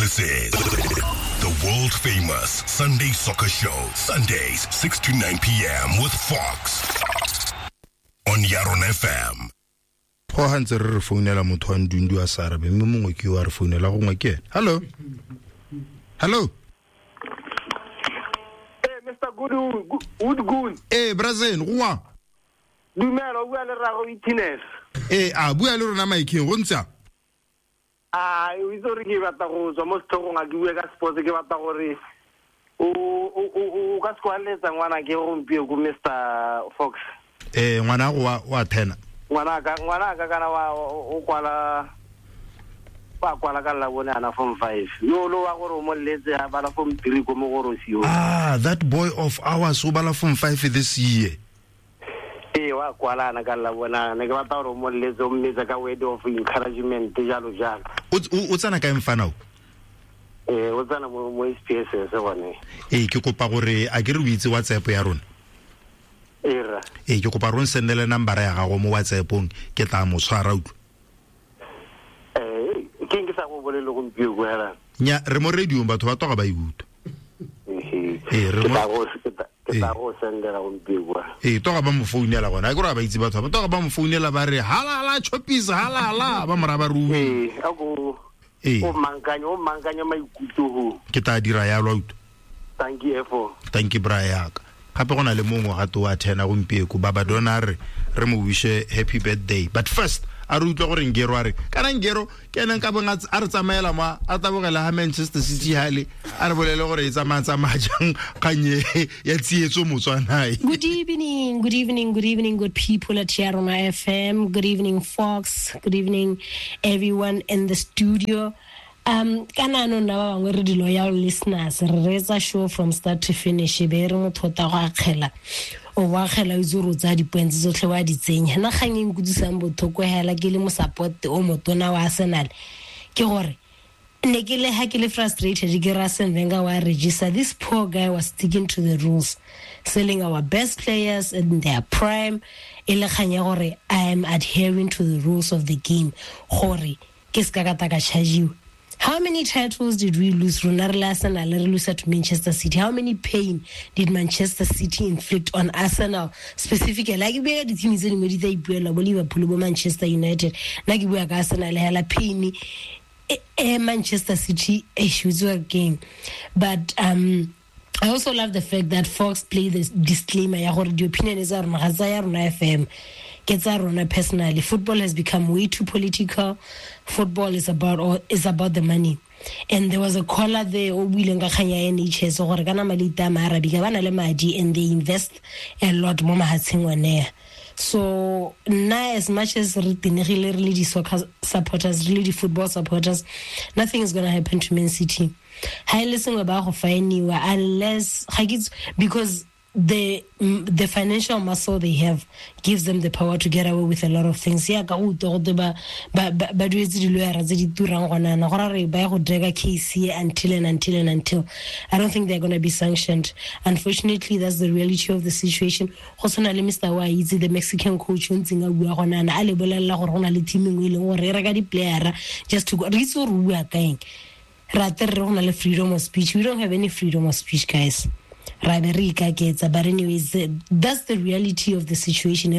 This is the world famous Sunday Soccer Show. Sundays, 6 to 9 p.m. with Fox on Yaron FM. Go ga ntse re re founela motho wa Ndundu a sa arabe, mme mongwe ke yo a re founela, gongwe ke ene. Hello, hello. Hey, Mr. Good. Ee, brazen goa. Dumela, o bua le rrago Itines. Ee, a bua le rona maikeng go ntse. A o itse gore ke batla go tswa mo setlhogong, a ke bue ka sports, ke batla gore o ka se kwaletsa ngwana ke gompieno ko Mr. Fox. Ee, ngwana go wa thena. Ngwana ka kana wa o kwala ba kwala ka la bone ana form 5. Yo lo wa gore o mo letse a bala form 3 ko Mogorosi yo. Ah, that boy of ours o bala form 5 this year. Ee, wa kwala ana ka la bona ne ke batla gore o mo letse o mmetsa ka word of encouragement jalo jalo. O tsena kae mfana o? Ee, o tsena mo SPSS gone. Ee, ke kopa gore a ke re o itse WhatsApp ya rona. Ee, ke kopa rona sendele number ya gago mo WhatsAppong, ke tla mo tshwara utlwa. Ee, ke eng ke sa go bolele gompieno ko hela? Nya, re mo radio batho ba toga ba e utlwa. Ee, re mo ke tla go sendela gompieno kwa. Ee, toga ba mo founela gona. A ke re ba itse batho ba toga ba mo founela ba re halala chopis halala ba mora ba ruwe. Ee, a go o mankanya maikutlo ho. Ke tla dira ya lwa utlwa. Thank you efo. Thank you bra yaka. Gape go na le mongwe gato wa thena gompieko baba dona re mo wishe happy birthday. But first a re utlwa gore Ngero a re kana Ngero ke ene nka bong a re tsamaela mo a tabogela ha Manchester City hale a re bolele gore e tsamaya jang kganye ya tsietso Motswanae. Good evening, good evening, good evening, good people at Yarona FM. Good evening, Fox. Good evening, everyone in the studio. Kana no nna ba bangwe re di loyal listeners, re reetsa show from start to finish, be re motho ta go akgela o wa akgela o itse gore o tsaya di-points tsotlhe wa di tsenya. Nna kgang e nkutlwisang botlhoko hela ke le mo support o motona wa Arsenal ke gore ne ke le ha ke le frustrated ke re Arsene Wenger wa register. This poor guy was sticking to the rules, selling our best players in their prime, e le kgang ya gore I am adhering to the rules of the game gore ke se ka ka ta ka chargiwa. How many titles did we lose? Rona re le Arsenal re lose to Manchester City. How many pain did Manchester City inflict on Arsenal specifically? Like bua di team tse dingwe di tla ipuela bo Liverpool bo Manchester United. Nna ke bua ka Arsenal hela pain e Manchester City e shuzwa game. But I also love the fact that Fox played this disclaimer ya gore di opinion tsa rona ga tsa ya rona FM. Ke tsa rona personally. Football has become way too political. Football is about the money. And there was a caller there o buileng ka kgang ya NHS gore kana malita a Maarabika ba na le madi and they invest a lot mo mahatsheng one. So nna as much as re tenegile re le di soccer supporters, re le di football supporters, nothing is going to happen to Man City. Ha ile sengwe ba go fainiwa unless because the financial muscle they have gives them the power to get away with a lot of things. Ya ka utlwa gote ba duetse di-lawyera tse di turang gonana gore re ba ya go drag case until and until and until. I don't think they're going to be sanctioned. Unfortunately, that's the reality of the situation. Go tshwana le Mr. Wa itse the Mexican coach o ntseng a bua gonana a le bolelela gore go na le team engwe e leng gore e reka di-playera just to go. Re itse gore o bua kaeng. Re ate re go na le freedom of speech. We don't have any freedom of speech, guys. But anyways, that's the reality of the situation.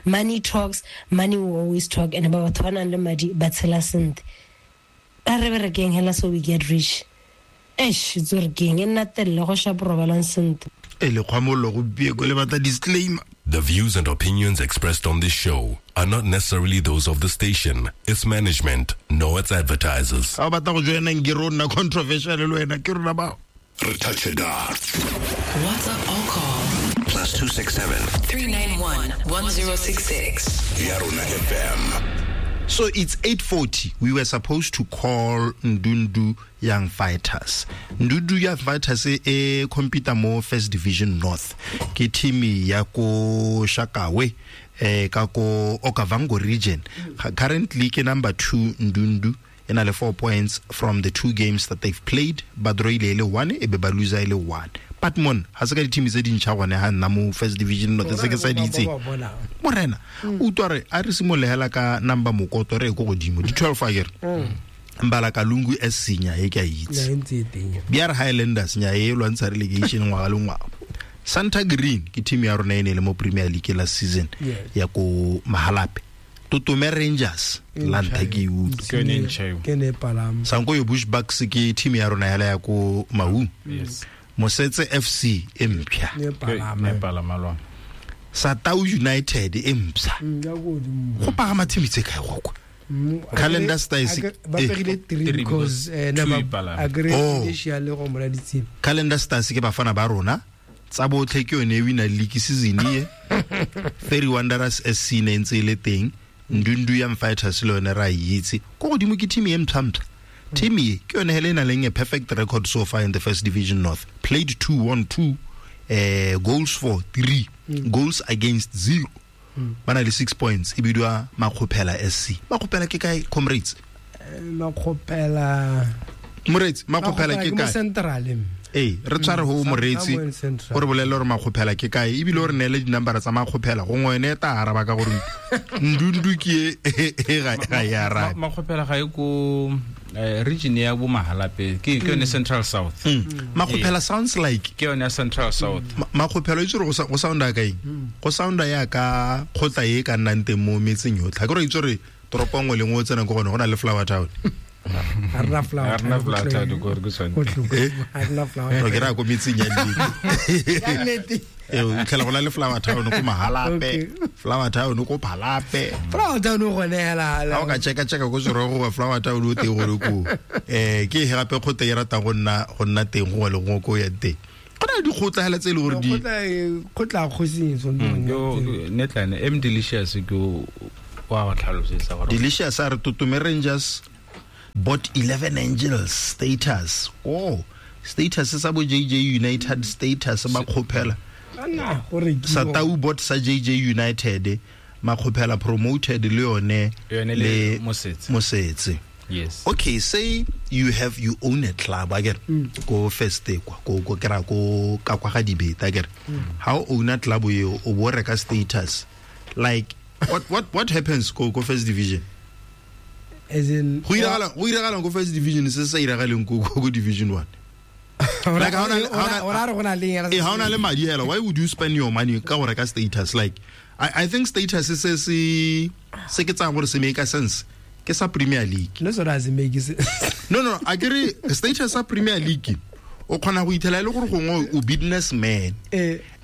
Money talks, money will always talk, and about one and madi but so we get rich. Eish, disclaimer. The views and opinions expressed on this show are not necessarily those of the station, its management, nor its advertisers. How about controversial? WhatsApp or call +267 391 1066. Yarona FM. So it's 8:40. We were supposed to call Ndundu Young Fighters. Ndundu Young Fighters e compete mo First Division North. Ke team ya ko Shakawe ka ko Okavango region. Currently ke number 2 Ndundu. In 4 points from the 2 games that they've played, ba draw ile 1 e be ba lose ile 1. But mon ha se ka di-team tse dintšha gone ha nna mo First Division North se ke sa di itseng. Morena, utlwa re a re simolehela ka number mokoto re ko godimo di 12 a kere. Mbalakalungu SC nya e ke a itse. Nya ntse e teng. BR Highlanders nya e lwantsha relegation ngwaga le ngwaga. Santa Green ke team ya rona e ne e le mo Premier League last season ya ko Mahalape. Totome Rangers la ntha ke e utlwa. Ke yone e ntšha eo. Ke ne e palama. Sankoyo Bushbucks ke team ya rona yala ya ko Maun. Yes. Mosetse FC e mpsha. Ne e palama. Ne e palama lona. Satau United e mpsha. Ya ko godimo. Go pagama team tse kae go kwa? Calendar Stars ba pegile 3 because Two e palama. agree Oh. initial go mola ditsela. Calendar Stars ke bafana ba rona. Tsa botlhe ke yone e wina league season e. Ferry Wanderers SC ne ntse e le teng. Ndundu Young Fighters le yone ra e itse. Ko godimo ke team e mpsha-mpsha. Team e ke yone hele e nang le a perfect record so far in the First Division North. Played 2-1-2, goals for 3, goals against 0. Ba na le 6 points e bidiwa Makgopela SC. Makgopela ke kae, comrades? Makgopela. Moreetsi, Makgopela ke Makgopela ke mo kae? Central. Ee, re tshware ho moreetsi, Somewhere in Central. o re bolelle gore Makgopela ke kae, ebile o re neele di-number tsa Makgopela, gongwe ene e tla araba ka gore Ndundu ke e, e ga e arabe. Makgopela ga e ko region ya bo Mahalape, ke yone Central South. Makgopela sounds like Ke yone ya Central South. Makgopela o itse gore go sounda ka eng? Go sounda ya ka kgotla e ka nnang teng mo metseng yotlhe. Ha ke re itse gore toropo nngwe le nngwe o tsenang ko gone go na le Flower Town. Ha rena Flower Ha rena Town, Flower ko Town, tlogele. ko re ke tshwanetse. Ko tlogele. Ha rena Flower No, Town. ke raya ko metseng ya nnete. Ya nnete. Ee, o fitlhela go na le Flower Town ko Mahalape, Okay. Flower Town ko Phalape. Flower Town o gone hela. Ha o ka cheka-cheka ko Serogo goba Flower Town o teng gore ko. Ke e gape kgotla e ratang go nna teng gongwe le gongwe ko o yang teng. Go na le dikgotla hela tse e le gore di Kgotla kgosing e tshwanetse go nna teng. Netlane M Delicious ke o wa go tlhalosetsa gore Delicious a re Totome Rangers bought 11 Angels status. Oh, status sa bo JJ United status Makgopela. Ana, go rekiwa. Satau bought sa JJ United, Makgopela promoted le yone Yone le Mosetse. Mosetse. Yes. Okay, say you own a club akere ko first kwa ko kera ko ka kwa ga dibeta akere. How own a club eo o bo reka status. Like what happens ko first division? As in Go iragala ko first division se sa iragaleng ko division 1. Like, ha ona o ra re go na le eng? Eh, ha ona le madi hela, why would you spend your money ka go reka status? Like I think status se se ke tsaya gore se make sense. Ke sa Premier League. No, so doesn't make sense. No, a ke re status sa Premier League o kgona go ithela e le gore gongwe o businessman.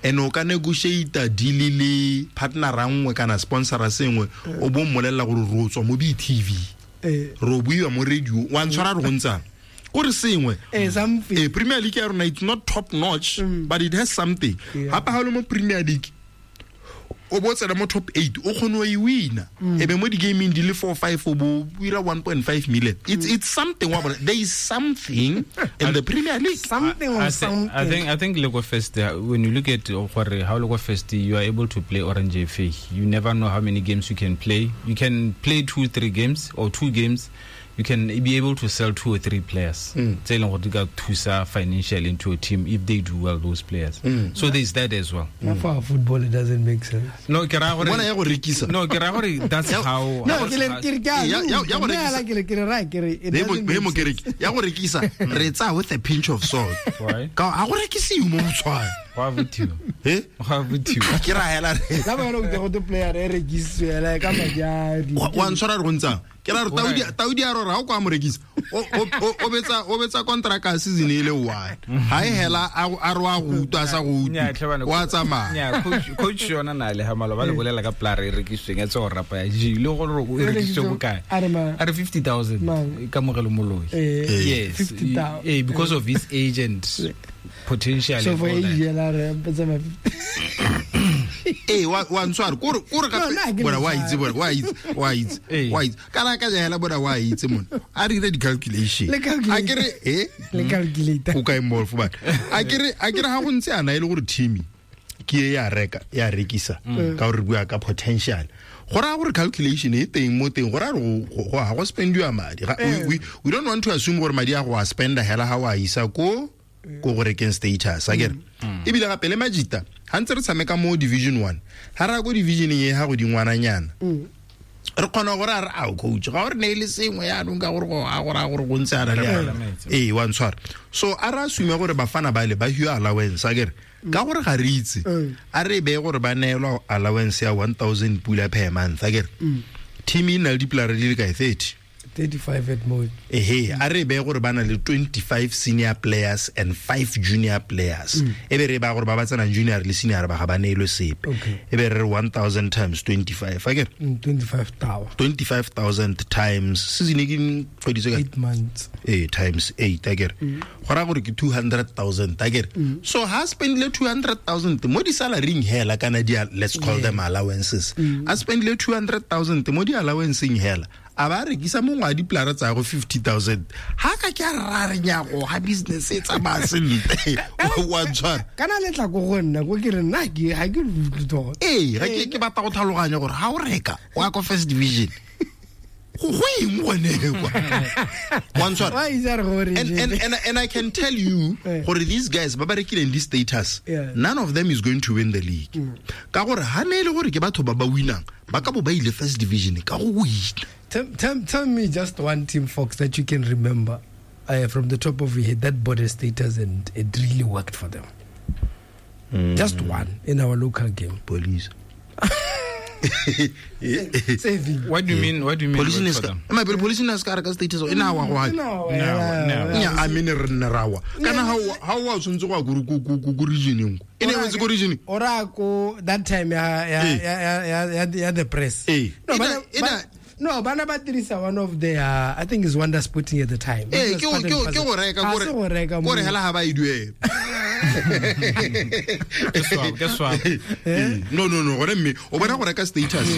And o ka negotiate deal le partner nngwe kana sponsor sengwe o bo mmolelela gore re o tswa mo BTV. Re o buiwa mo radio, wa ntshwara re go ntsang. Kore sengwe. Something. Premier League ya rona it's not top notch, but it has something. Gape ha o le mo Premier League o bo tsena mo top 8 o kgone go e wina. E be mo di-gaming di le 4 5 o bo ira 1.5 million. It's something wa bona. There is something in the Premier League. Something or something. I think Lego First, when you look at gore how Lego First, you are able to play Orange FA. You never know how many games you can play. You can play 2-3 games or 2 games. You can be able to sell 2 or 3 players. Tse e leng gore di ka thusa financially into a team if they do well, those players. So there's that as well. For football, it doesn't make sense. No, ke raya gore Bona ya go rekisa. No, ke raya gore that's how. No, ke le ke re ke a Ya go nna rekisa. ke re ke re ra ke re it Be doesn't make mo sense. kereke. Ya go rekisa re tsaya with a pinch of salt. Why? Ka ha go rekisiwe mo Botswana. Go a bothiwa. Eh? Go a bothiwa. Ke ra hela re. La ba go go player e rekisitswe hela ka madi a Wa ntshwara re go ntsang. Ke ra re Taudi a rora ha o kwa mo rekisa. O betsa contract ya season e le one. Ha e hela a re wa go utlwa a sa go Nnyaa, utlwe. tlhe bana, Wa tsamaya. Nnyaa, coach yona na le ha maloba le bolela ka player e rekisitsweng ya tse go rapa ya G le gore o e rekisitswe bokae. A re mang? A re 50,000 Mang? Kamogelo Moloi. Eh, Yes. 50,000. Because of his age and potential. So and for all that. age hela re tsamaya Ee, wa ntshwara kore No, nna ha gape ke bona le wa itse bona wa itse wa itse Ee. wa itse kana ka hela bona wa itse mona a re dire di-calculation Le calculate. a kere eh le calculator. o kae molf bana a kere ha go ntse ana e le gore team ke e ya reka ya rekisa ka gore re bua ka potential go raya gore calculation e teng mo teng go raya gore ga go spendiwa madi we don't want to assume gore madi a go a spenda hela ha o a isa ko go rekeng status a kere ebile gape le majita ha ntse re tshameka mo division 1 ha re ya ko divisioneng e ha godingwananyana Re kgona gore a re ao coach ga o re neele sengwe yaanong ka gore go a gore a gore go ntse a na le yana. Ee, wa ntshwara. So a re assume gore bafana bale ba hiwa allowance akere ka gore ga re itse, a re beye gore ba neelwa allowance ya 1000 pula per month akere. Team e na le dipolara di le kae? 30. 35 at most. Ehe, a re beye gore ba na le 25 senior players and 5 junior players. E be re ba gore ba ba tsenang junior le senior ba ga ba neelwe sepe. Okay. E be re re 1000 times 25 akere. 25 tower. 25,000 times season e ke kgwedi tse kae? 8 months. Ee, times 8 akere. Go raya gore ke 200,000 akere. So ha spendile 200,000 mo di salaryng hela kana di let's call them allowances. A spendile 200,000 mo di allowanceng hela. A ba rekisa mongwe wa dipolara tsa go 50,000. Ha ka ke a ra re nyago ha business e tsamaya sentle. Wa ntshwara. Kana le tla ko go nna ko ke re nna ke ga ke utlwe tota. Ee, ga ke batla go tlhaloganya gore ha o reka o ya ko first division. Go eng gone kwa? Wa ntshwara. Wa itse re gore And I can tell you gore these guys ba ba rekileng this status, none of them is going to win the league. Ka gore ha ne e le gore ke batho ba ba winang, ba ka bo ba ile first division ka go wina. Tell me just one team, Fox, that you can remember from the top of your head that bought a status and it really worked for them. Just one in our local game. Police. Saving. What do you mean? What do you mean? Police work for them? Ma pele police ne ska reka status e na wa go No, Nya a mene re nne rawa. Kana ha wa tshwantse go ya ko region ko. E ne wetse ko region. Ora ko that time ya the press. No, No, bana ba dirisa one of their, I think is Wonder Sporting at the time. Eh, ke go reka gore hela ha ba e duela. Ke swap. No, gore mme o bona go reka status.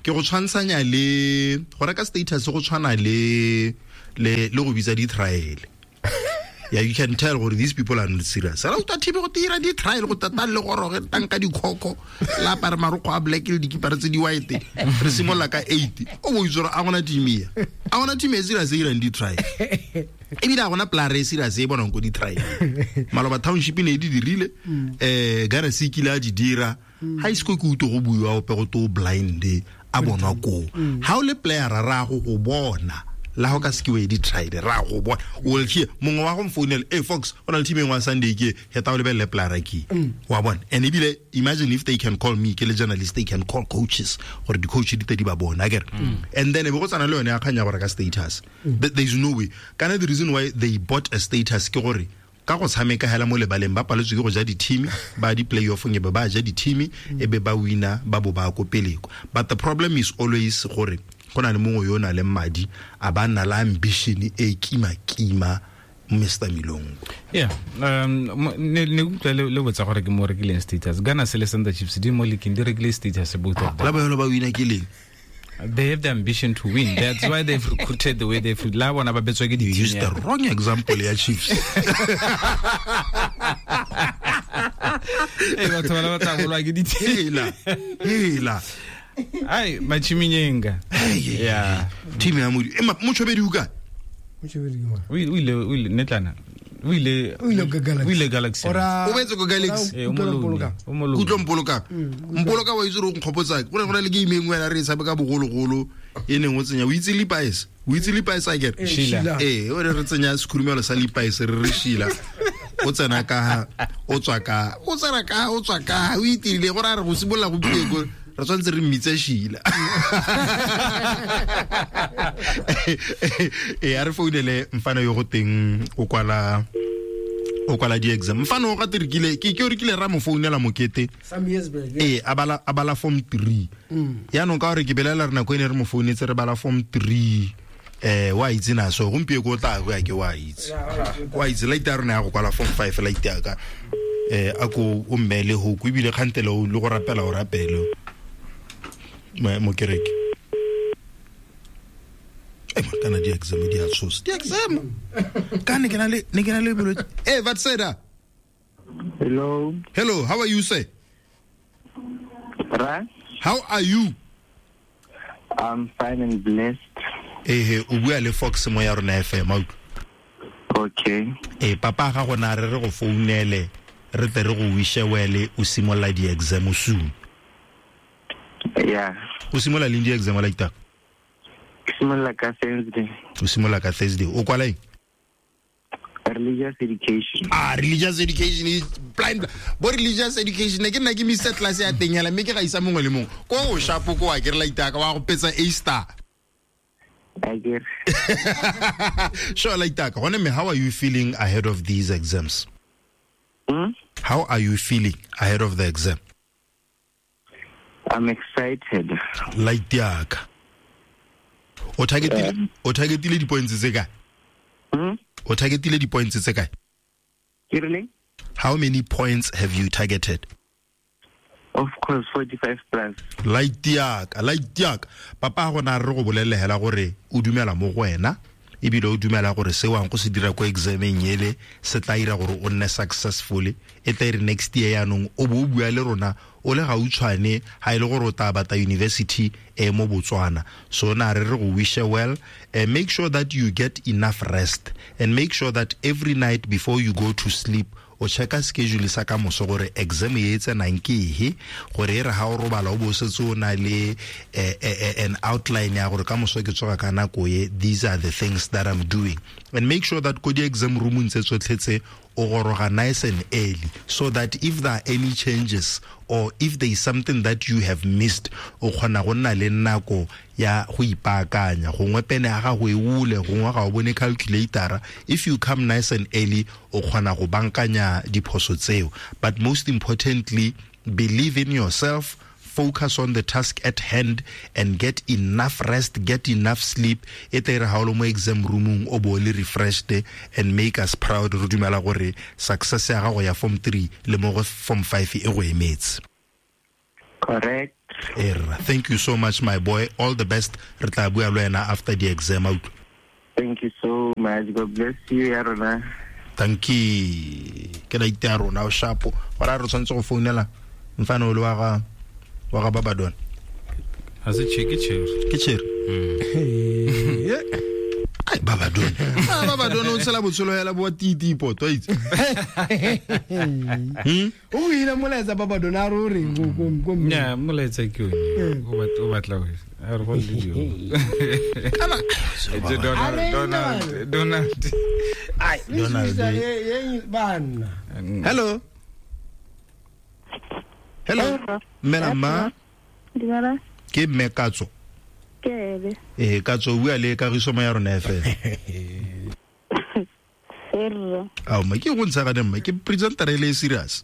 Ke go tshwantshanya le go reka status go tshwana le go bitsa di trial. Yeah, you can tell gore these people are not serious. Ra utlwa thibe go tira di trial go tata le gore re tanka dikhoko la apare marokgo a black le dikipara tse di white. Re simolola ka 8. O bo itse gore a gona team ya. A gona team e serious e irang di trial. Ebile a gona player e serious e bonang ko di trial. Maloba township ne di dirile Ghana se kile a di dira. Ha isko ke utlwe go buiwa ope go to blind a bonwa ko. Ha o le player ra go go bona. La ho ka se ke we di tried ra go bona o will hear mongwe wa go mfounela e Fox o na le team engwe Sunday ke heta o lebelle player ke wa bona. And ebile imagine if they can call me ke le journalist, they can call coaches gore di coach di tedi ba bona akere. And then e be go tsana le yone ya kganya gore ka status. There is no way. Kana the reason why they bought a status ke gore ka go tshameka hela mo lebaleng ba paletswe ke go ja di team ba di playoff nge ba ja di team e be ba winner ba bo ba ko pele. But the problem is always gore go na le mongwe yo o nang le madi a ba nna le ambition e kima Mr. Milongo. Yeah, ne utlwa le botsa gore ke mo rekileng status. Ghana se le Sanda Chiefs di mo leaking di rekile status both of them. La ba ba wina ke leng? They have the ambition to win. That's why they've recruited the way they've la bona ba betswa ke di team. Use the wrong example ya Chiefs. Eh batho ba tla bolwa ke di team. Hela. Ai machiminyenga. Yeah. Team ya Modi. Motshobedi o kae? Motshobedi ke mang? O ile netlana. O ile Galaxy. O betse ko Galaxy. O mololo. Kutlwa Mpoloka. Mpoloka wa itse re nkgopotsa. Go ne go na le game engwe ya re e tshameka bogologolo e neng o tsenya o itse Levi's. O itse Levi's akere? Sheila. Ee, o re tsenya sekhurumelo sa Levi's re re Sheila. O tsena ka o tswa ka o tsena ka o tswa ka o itirile gore a re go simolola go pile go re tshwanetse re mmitse Sheila. E a re founele mfana yo go teng o kwala di-exam. Mfana o gate rekile ke o rekile ra mo founela mokete some years back. Ee, a bala form 3. Yaanong ka gore ke belela re nako e ne re mo founetse re bala form 3. Wa itse na so gompieno ko tla go ya ke wa itse. Wa itse late ya rona ya go kwala form 5 late ya ka. A ko o mmele ho go ebile kgantele o le go rapela o rapele. Mo kereke. Kana di exam di a tshosa. Di exam. Ka ne ke na le bolwetse. Eh Vatseda. Hello. Hello, how are you sir? Right. How are you? I'm fine and blessed. Eh o bua le Fox mo ya rona FM. Okay. Eh papa ga gona re re go founele re tle re go wishe wele o simola di exam soon. Yeah. O simola leng di exam like that? Ke simolola ka Thursday. O simolola ka Thursday. O kwala eng? Religious education. Ah, religious education is blind. Bo religious education ne ke nna ke misa class ya teng hela mme ke ga isa mongwe le mongwe. Ko o shapo ko wa ke re laitaka wa go petsa A star. I get. Sure, laitaka. Gone me, how are you feeling ahead of these exams? Hmm? How are you feeling ahead of the exam? I'm excited. Laitaka. O targetile di-points tse kae? Hmm? O targetile di-points tse kae? Ke rileng? How many points have you targeted? Of course, 45 plus. Laitiaka. Papa gona re go bolelle hela gore o dumela mo go wena ebile o dumela gore se wang go se dira ko exameng ele se tla ira gore o nne successful e tla ire next year yanong o bo o bua le rona o le gautshwane ha ile gore o tla batla university e mo Botswana. So na re re go wish well, make sure that you get enough rest and make sure that every night before you go to sleep o checka schedule sa ka moso gore exam e tsenang ke ehe gore e re ha o robala o bo setse o na le an outline ya gore ka moso ke tsoga ka nako e, these are the things that I'm doing. And make sure that ko di exam room tse tsotlhe tse o goroga nice and early so that if there are any changes or if there is something that you have missed o kgona go nna le nako ya go ipaakanya, gongwe pene ya gago e ule, gongwe ga o bone calculator. If you come nice and early o kgona go bankanya diphoso tseo. But most importantly, believe in yourself, focus on the task at hand and get enough rest, get enough sleep. E tla re ha o le mo exam roomong o bo le refreshed and make us proud. Re dumela gore success ya gago ya form 3 le mo go form 5 e go emetse. Correct. Erra, thank you so much, my boy. All the best. Re tla bua le wena after the exam out. Thank you so much. God bless you, ya rona. Thank you. Ke la ite ya rona o shapo. Gore re tshwanetse go founela mfana o le wa ga Babadon. Ha se che ke chere. Ke chere. Ai Babadon. Ah Babadon o tshela botshelo hela bo titi poto itse. O ina molaetsa Babadon a re o reng go Nya molaetsa ke one. O batla o a re go le dio. Kana Donald. Ai Donald. Bana. Hello. Hello. Mela ma. Dumela. Ke mme Katso. Ke ebe. Eh Katso o bua le Kagiso mo ya rona FM. Erra. Ao ma ke go ntsha ga ne mma ke presenter e le serious.